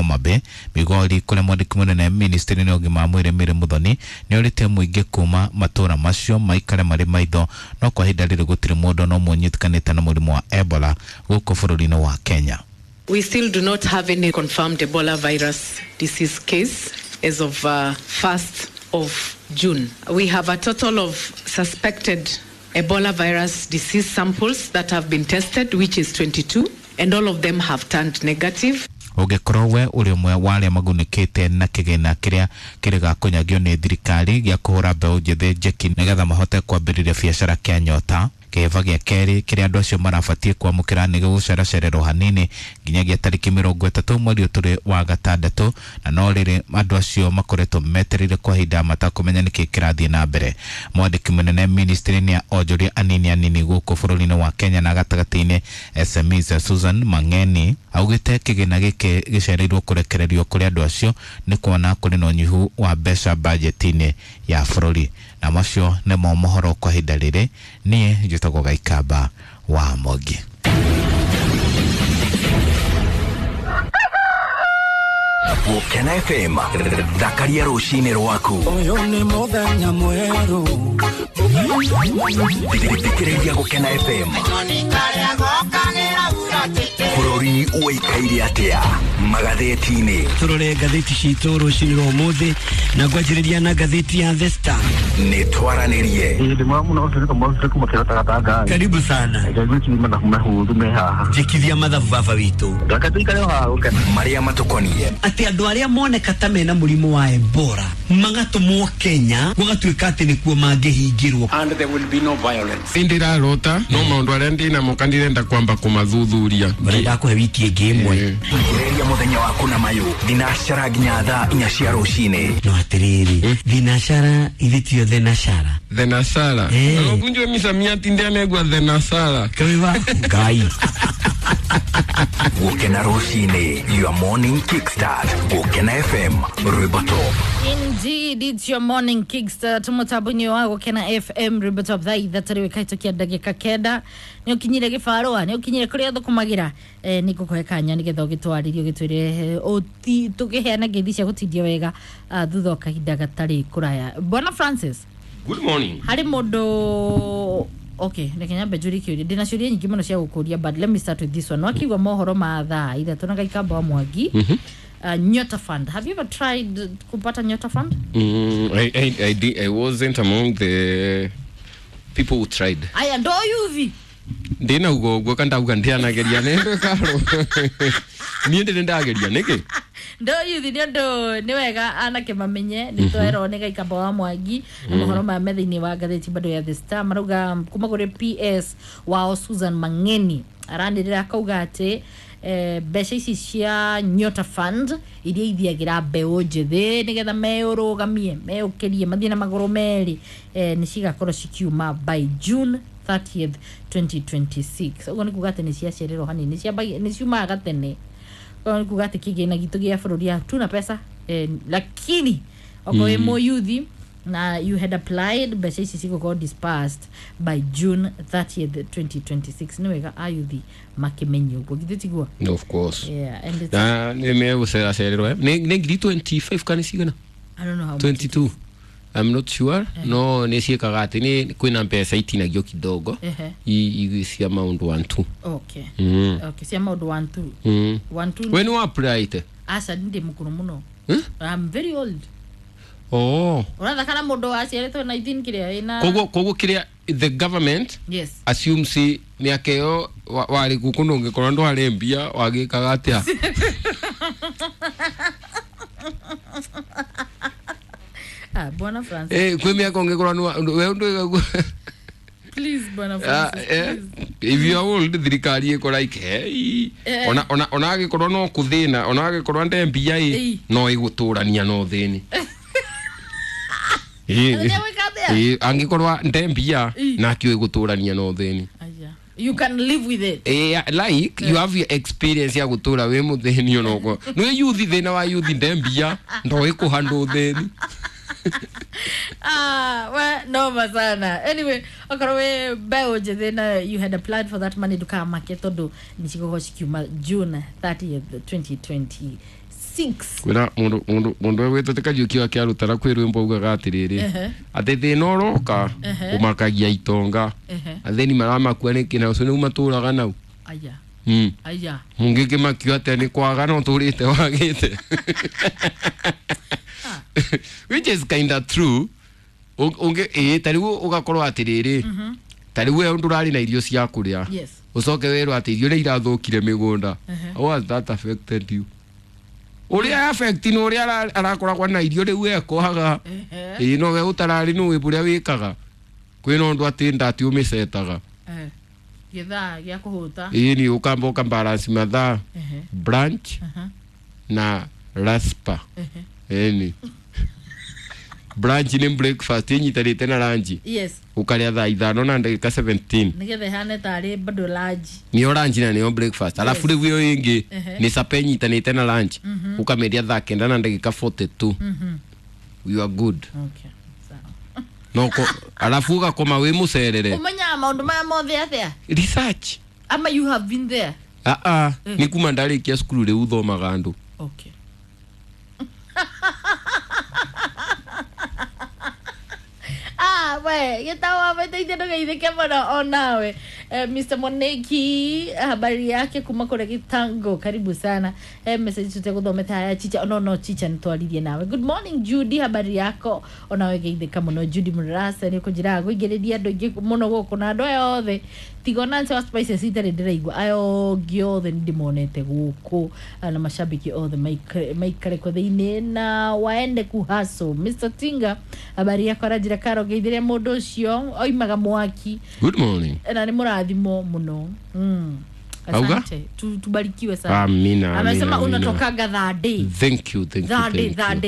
Homa Bay, Migori kũrĩa mwandĩki mũnene ministry-inĩ ya ũgima wa mwĩrĩ Mary Muthoni nĩ orĩtie mũingĩ kuma matũra macio maikare marĩ maitho, no kwa ihinda rĩrĩ gũtirĩ mũndũ ona ũmwe ũnyitĩkanĩte na mũrimũ wa Ebola gũkũ bũrũri-inĩ wa Kenya. We still do not have any confirmed Ebola virus disease case as of 1st of June. We have a total of suspected Ebola virus disease samples that have been tested, which is 22, and all of them have turned negative. Ũngĩkorwo we ũrĩ ũmwe wa arĩa magunĩkĩte na kĩgĩna kĩrĩa kĩrĩga kũnyagio nĩ thirikari gĩa kũhũra mbeũ njĩthĩ njeki nĩgetha mahote kwambĩrĩria biacara kĩa Nyota, kĩhĩba gĩa kerĩ kĩrĩa andũ acio marabatiĩ kwamũkĩra nĩ gĩgũceracererwo hanini nginyagia tarĩki 30 mweri ũtũrĩ wa gatandatũ, na no rĩrĩ andũ acio makoretwo metereire kwa ihinda matakũmenya nĩkĩ kĩrathiĩ na mbere. Mwandĩki mũnene ministry-inĩ ya onjoria anini anini gũkũ bũrũri-inĩ wa Kenya na gatagatĩ-inĩ SMEs Susan Mang'eni augĩte kĩgĩna gĩkĩ gĩcereirwo kũrekererio kũrĩ andũ acio nĩ kuona kũrĩ na ũnyihu wa mbeca bajeti-inĩ ya bũrũri. Na macio nĩmo mohoro kwa ihinda rĩrĩ. Niĩ njĩtagwo Gaikamba wa Mwangi. Gũkena FM, thakaria rũcinĩ rwaku. Ũyũ nĩ mũthenya mwerũ. Thikĩrĩria Gũkena FM. Bũrũri ũikaire atĩa magathĩti-inĩ? Tũrore ngathĩti citũ rũcinĩ rwa ũmũthĩ na ngwanjĩrĩria na ngathĩti ya The Star. Nĩ twaranĩrie. Karibu sana. Njĩkithia mathabu baba witũ. Marĩa matũkoniĩ. Atĩ andũ arĩa moneka ta mena mũrimũ wa Ebola magatũmwo Kenya gũgatuĩka atĩ nĩkuo mangĩhingĩrwo. And there will be no violence. Ndirarota no maũndũ arĩa ndĩnamo kandirenda kwamba kũmathuthuria. Barenda kũhe wiki ĩngĩ ĩmwe. Thikĩrĩria mũthenya waku na mayũ thinacara nginya thaa 4 cia rũcinĩ. No atĩrĩrĩ, thinacara ithe tio thenashara. Thenashara. Ũkunjwe misamiati ndianegwa thenashara. Kawiwa Ngai. Gũkena rũcinĩ, your morning kickstart. Gũkena FM, Rwĩmbo Top. Indeed, it's your morning kickstart. Mutabuni wa Gũkena FM, Rwĩmbo Top, thaa ithatũ rĩu ĩkahĩtũkia ndagĩka 9. Nĩ ũkinyire gĩbarũa, nĩ ũkinyire kũrĩa thũkũmagĩra. Nĩ ngũkũhe kanya nĩgetha ũgĩtwarĩrie ũgĩtwĩre tũkĩheana ngeithi cia gũtindia wega thutha wa kahinda gatarĩ kũraya. Bwana Francis. Good morning. Harĩ mũndũ. Okay, reke nyambe njũrie kĩũria. Ndĩna ciũria nyingĩ mũno cia gũkũria, but let me start with this one. Wakiuga mohoro ma thaa ithatũ na Gaikamba wa Mwangi. Nyota Fund. Have you ever tried kupata Nyota Fund? I wasn't among the people who tried. Aya, ndo yuthi. Ndina ugo ugo kandauga ndianageria nĩ karo. Niĩ ndĩrĩ ndageria nĩkĩ? Ndo yuthi nĩ ũndũ nĩ wega anake mamenye nĩ twerwo nĩ Gaikamba wa Mwangi na mohoro ma me thĩinĩ wa ngathĩti bado ya The Star marauga kuma kũrĩ PS wao Susan Mang'eni aranĩrĩra akauga atĩ mbeca ici cia Nyota Fund iria ithiagĩra mbeũ njĩthĩ nĩgetha meũrũgamie meũkĩrie mathiĩ na magũrũ merĩ, nĩ cigakorwo cikiuma by June 30th 2026. Ũguo nĩ kuga atĩ nĩ ciacererwo hanini, nĩ ciumaga gatene. Ũguo nĩ kuga atĩ kĩgĩna gitũ gĩa bũrũri hatuna pesa, lakini okorwo wĩ mũyuthi na you had applied, mbeca ici cigũkorwo dispersed by June 30th 2026. Nĩ wega ayuthi makĩmenye ũguo, githĩ tiguo? Of course. Yeah, and it's na nĩ megũceracererwo nĩ ngiri 25 kana cigana? I don't know how much. 22. I'm not sure. No nĩ ciĩkaga atĩ nĩ kwĩna mbeca itinagio kidogo cia maũndũ 1 2. Okay. Okay, cia maũndũ 1 2. 1 2. We nĩ apply? Aca ndĩ mũkũrũ mũno. I'm very old. Oh. Ũrathaka na mũndũ waciarĩtwo 19 kĩrĩa ĩna. Koguo kĩrĩa the government yes assumes mĩaka ĩyo warĩ gũkũ ndũngĩkorwo ndwarĩ mbia wagĩkaga atĩa? Ah, Bwana Francis. Kwĩ mĩaka ũngĩkorwo we ndwĩga. Please, Bwana Francis. If you are old, thirikari ĩkora like hey. Ona agĩkorwo no kũthĩna, ona agĩkorwo nde mbia ĩ no ĩgũtũrania no thĩni. Angĩkorwo nde mbia nakĩo ĩgũtũrania no thĩni. You can live with it. Like you have your experience ya gũtũra wĩ mũthĩni onoko. Nĩ yuthi thĩna wa yuthi nde mbia ndoĩ kũhandwo thĩni. Ah, well, noma sana. Anyway, okorwo wĩ mbeũ njĩthĩ na you had applied for that money, ndũkamake tondũ nĩ cigũkorwo cikiuma June 30th 2026. 6. Kwĩna mũndũ wĩtwo Kariũki wa Kĩarũtara kwĩ rwĩmbo augaga atĩrĩrĩ, atĩ thĩna ũroka ũmakagia itonga, athĩni maramakua nĩkĩ na ũcio nĩu matũraga nau. Aya. Aya. Mũngĩkĩmakio atĩa nĩ kwaga no tũrĩte wagĩte, which is kinda true. Ũngĩ ĩĩ ta rĩu ũgakorwo atĩrĩrĩ, ta rĩu we ndũrarĩ na irio cia kũrĩa, ũcoke werwo atĩ irio nĩ irathũkire mĩgũnda. How has that affected you? Ũrĩa affect nĩ ũrĩa arakoragwo na irio rĩu ekwaga. Ĩĩ no we ũtararĩ nĩ wĩ ũrĩa wĩkaga kwĩna ũndũ atĩ ndati ũmĩcetaga. Gĩthaa gĩa kũhũta. Ĩĩ nĩ ũkamba ũkabalance mathaa, brunch na raspa. Ĩni brunch nĩ breakfast ĩnyitanĩte na lunch. Ũkarĩa thaa 5 na ndagĩka 17. Nĩgetha ĩhane tarĩ bado lunch. Nĩyo lunch na nĩyo breakfast, alafu rĩu ĩyo ĩngĩ nĩ supper ĩnyitanĩte na lunch, ũkamĩrĩa thaa 9 na ndagĩka 42. You are good. Okay. Sawa. No alafu ũgakoma wĩ mũcerere. Ũmenyaga maũndũ maya mothe atĩa? Research. Ama you have been there? Ah, nĩ kuma ndarĩkia cukuru rĩu thomaga andũ. Okay. Ah, we gĩtawa mateithia ndũgeithĩke mũno onawe. Mr. Moneki, habari yake kuma kũrĩa Gĩtango, karibu sana. Message tũtegũthomete haya chicha no no chicha nĩtwaririe nawe. Good morning Judy, habari yako onawe geithĩka mũno Judy Mũrasa. Nĩ ũkũnjĩraga kũingĩrĩria andũ aingĩ mũno gũkũ na andũ aya othe tiga ona Nancy wa Spices itarĩ ndĩraigua, aya ongĩ othe nĩ ndĩmonete gũkũ na mashabiki othe maikare kwa thĩinĩ na waende kuhaso. Mr. Tinga, habari yako aranjĩra karo ngeithĩria mũndũ ũcio oimaga mwaki. Good morning. Na nĩ mũrathimo mũno. Auga? Asante. Tubarikiwe sana. Amina, amina, Amesema amina. unatokaga that day. Thank you, thank you, That day, thank that you.